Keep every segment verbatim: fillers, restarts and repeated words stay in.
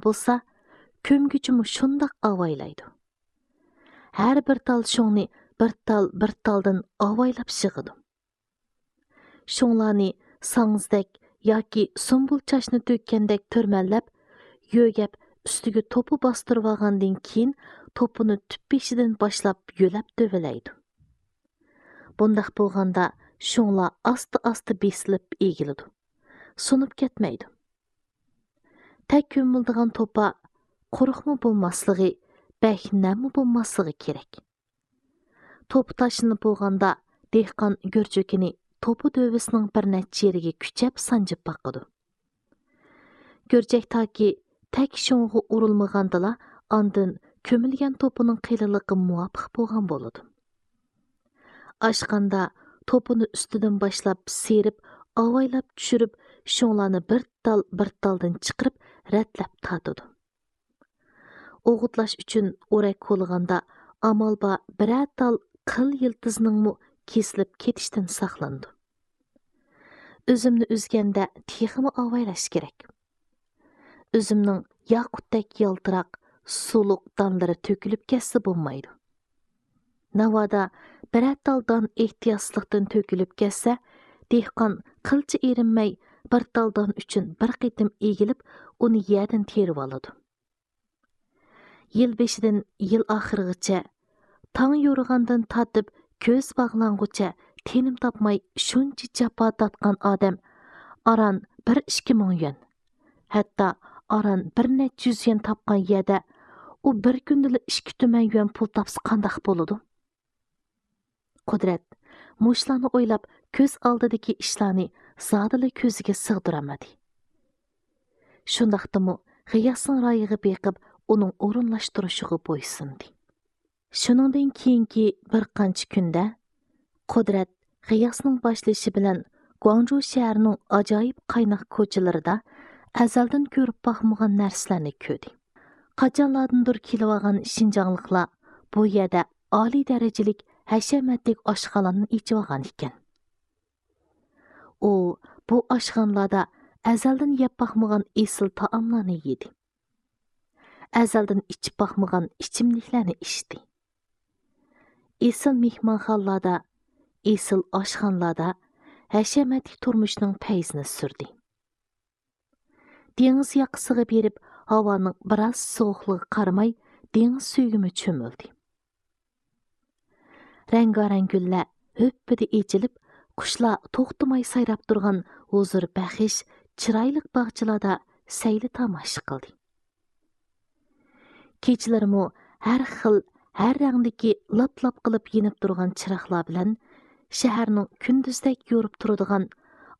بولسا، كۆمگۈچىمۇ شۇنداق ئاۋايلايدۇ. ھەر بىر تال شۇڭنى بىر تال، بىر تالدىن ئاۋايلاپ يىغىدۇ. شۇڭلارنى ساڭزىدەك ياكى سۇمبۇل چاچنى تۆككەندەك تۈرمەللەپ، يۆگەپ ئۈستىگە توپا باستۇرۇۋالغاندىن كېيىن، توپىنى تۈپ بېشىدىن باشلاپ يۆلەپ دۆۋىلەيدۇ. بۇنداق بولغاندا شۇڭلار ئاستا-ئاستا بېسىلىپ ئېگىلىدۇ، سۇنۇپ كەتمەيدۇ. تەك كۆمۈلىدىغان توپا قۇرۇقمۇ بولماسلىقى، بەك نەممۇ بولماسلىقى كېرەك. توپا تاشلىنىپ بولغاندا، دېھقان گۈرجۈكىنى توپا دۆۋىسىنىڭ بىر نەچچە يېرىگە كۈچەپ سانجىپ باقىدۇ. گۈرجەك تاكى تەك شۇڭغا ئۇرۇلمىغاندىلا، ئاندىن كۆمۈلگەن توپىنىڭ قېلىنلىقى مۇۋاپىق بولغان بولىدۇ. ئاشقاندا توپىنى ئۈستىدىن باشلاپ سىيرىپ، ئاۋايلاپ چۈشۈرۈپ، شۇڭلارنى بىر تال، بىر تالدىن چىقىرىپ، رەتلەپ تارتىدۇ. ئوغۇتلاش ئۈچۈن ئورەك كولىغاندا، ئامال بار بىرەر تال قىل يىلتىزنىڭمۇ كېسىلىپ كېتىشتىن ساقلىنىدۇ. ئۈزۈمنى ئۈزگەندە تېخىمۇ ئاۋايلاش كېرەك. ئۈزۈمنىڭ ياقۇتتەك يالتىراق، سۇلۇق دانلىرى تۆكۈلۈپ كەتسە بولمايدۇ. ناۋادا بىرەر تال دان ئېھتىياتسىزلىقتىن تۆكۈلۈپ كەتسە، دېھقان قىلچە ئېرىنمەي بىر تال دان ئۈچۈن بىر قېتىم ئېگىلىپ، ئۇنى يەردىن تېرىۋالىدۇ. يىل بېشىدىن يىل ئاخىرىغىچە، تاڭ يورۇغاندىن تارتىپ كۆز باغلانغۇچە تىنىم تاپماي شۇنچە جاپا تارتقان ئادەم ئاران بىر ئىككى مىڭ يۈەن، ھەتتا ئاران بىر نەچچە يۈز يۈەن تاپقان يەردە ئۇ بىر كۈندىلا ئىككى تۈمەن يۈەن پۇل تاپسا قانداق بولىدۇ؟ قۇدرەت مۇشۇلارنى ئويلاپ، كۆز ئالدىدىكى ئىشلارنى زادىلا كۆزىگە سىغدۇرالمىدى. شۇنداقتىمۇ غىياسنىڭ رايىغا بېقىپ، ئۇنىڭ ئورۇنلاشتۇرۇشىغا بويسۇندى. شۇنىڭدىن كېيىنكى بىر قانچە كۈندە قۇدرەت غىياسنىڭ باشلىشى بىلەن گۇاڭجۇ شەھىرىنىڭ ئاجايىپ قايناق كوچىلىرىدا ئەزەلدىن كۆرۈپ باقمىغان نەرسىلەرنى كۆردى. قاچانلاردىندۇر كېلىۋالغان شىنجاڭلىقلار بۇ يەردە ئالىي دەرىجىلىك ھەشەمەتلىك ئاشخانىلارنى ئېچىۋالغان ئىكەن. ئۇ بۇ ئاشخانىلاردا ئەزەلدىن يەپ باقمىغان ئېسىل تائاملارنى يېدى. ئەزەلدىن ئىچىپ باقمىغان ئىچىملىكلەرنى ئىچتى. ئېسىل مېھمانخانىلاردا، ئېسىل ئاشخانىلاردا ھەشەمەتلىك تۇرمۇشنىڭ پەيزىنى سۈردى. دېڭىز ياقىسىغا بېرىپ، ھاۋانىڭ بىراز سوغۇقلۇقىغا قارىماي، دېڭىز سۈيىگىمۇ چۆمۈلدى. رەڭگارەڭ گۈللەر ھۈپپىدە ئېچىلىپ، قۇشلار توختىماي سايراپ تۇرغان ھۇزۇر بەخش، چىرايلىق باغچىلاردا سەيلە تاماشا قىلدى. كېچىلىرىمۇ ھەر خىل، ھەر رەڭدىكى لاپ-لاپ قىلىپ يېنىپ تۇرغان چىراغلار بىلەن شەھەرنىڭ كۈندۈزدەك يورۇپ تۇرىدىغان،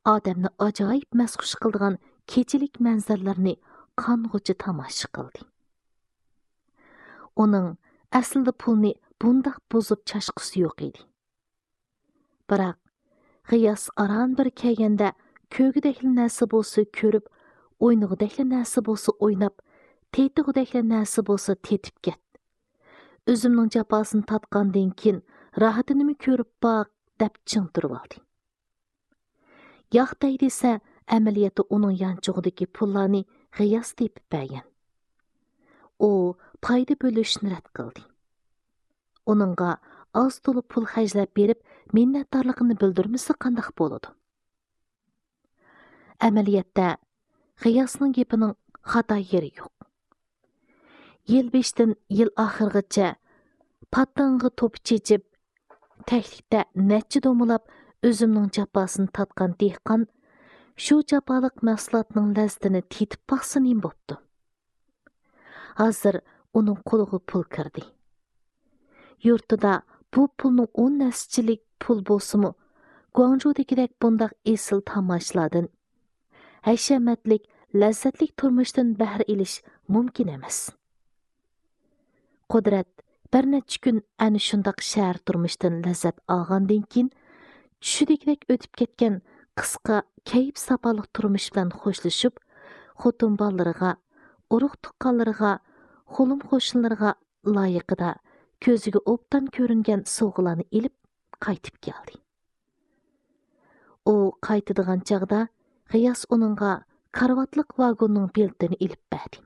ئادەمنى ئاجايىپ مەستخۇش قىلىدىغان كېچىلىك مەنزىرىلىرىنى قانغۇچە تاماشا قىلدى. ئۇنىڭ ئەسلىدە پۇلنى بۇنداق بۇزۇپ چاچقۇسى يوق ئىدى. بىراق، غىياس ئاران بىر كەلگەندە، كۆرگۈدەكلا نەرسە بولسا كۆرۈپ، ئوينىغۇدەكلا نەرسە بولسا ئويناپ، تېتىغۇدەكلا نەرسە بولسا تېتىپ كەت. ئۆزۈمنىڭ جاپاسىنى تارتقاندىن كېيىن، راھىتىنىمۇ كۆرۈپ باق، دەپ چىڭ تۇرۇۋالدى. ياق دەي دېسە، ئەمەلىيەتتە ئۇنىڭ يانچۇقىدىكى پۇللارنى غىياس تېپىپ بەرگەن. ئۇ پايدا بۆلۈشنى رەت قىلدى. ئۇنىڭغا ئاز تولا پۇل خەجلەپ بېرىپ، مىننەتدارلىقىنى بىلدۈرمىسە قانداق بولىدۇ؟ ئەمەلىيەتتە، غىياسنىڭ گېپىنىڭ خاتا يېرى يوق. يىل بېشىدىن يىل ئاخىرىغىچە پاتىڭىغا توپا چېچىپ، تەكلىكتە نەچچە دومىلاپ ئۈزۈمنىڭ جاپاسىنى تارتقان دېھقان شۇ جاپالىق مەھسۇلاتنىڭ لەززىتىنى تېتىپ باقسا نېمە بوپتۇ؟ ھازىر ئۇنىڭ قولىغا پۇل كىردى. يۇرتىدا بۇ پۇلنىڭ ئون ھەسسىچىلىك پۇل بولسىمۇ، گۇاڭجۇدىكىدەك بۇنداق ئېسىل تاماشىلاردىن، ھەشەمەتلىك، لەززەتلىك تۇرمۇشتىن بەھرە ئېلىش مۇمكىن ئەمەس. قۇدرەت بىر نەچچە كۈن ئەنە شۇنداق شەھەر تۇرمۇشىدىن لەززەت ئالغاندىن كېيىن، چۈشىدىكىدەك ئۆتۈپ كەتكەن قىسقا، كەيپ-ساپالىق تۇرمۇش بىلەن خوشلىشىپ، خوتۇن بالىلىرىغا، ئۇرۇق-تۇغقانلىرىغا، قولۇم-قوشنىلىرىغا لايىقىدا كۆزىگە ئوبدان كۆرۈنگەن سوۋغىلارنى ئېلىپ قايتىپ كەلدى. ئۇ قايتىدىغان چاغدا غىياس ئۇنىڭغا كارىۋاتلىق ۋاگوننىڭ بېلىتىنى ئېلىپ بەردى.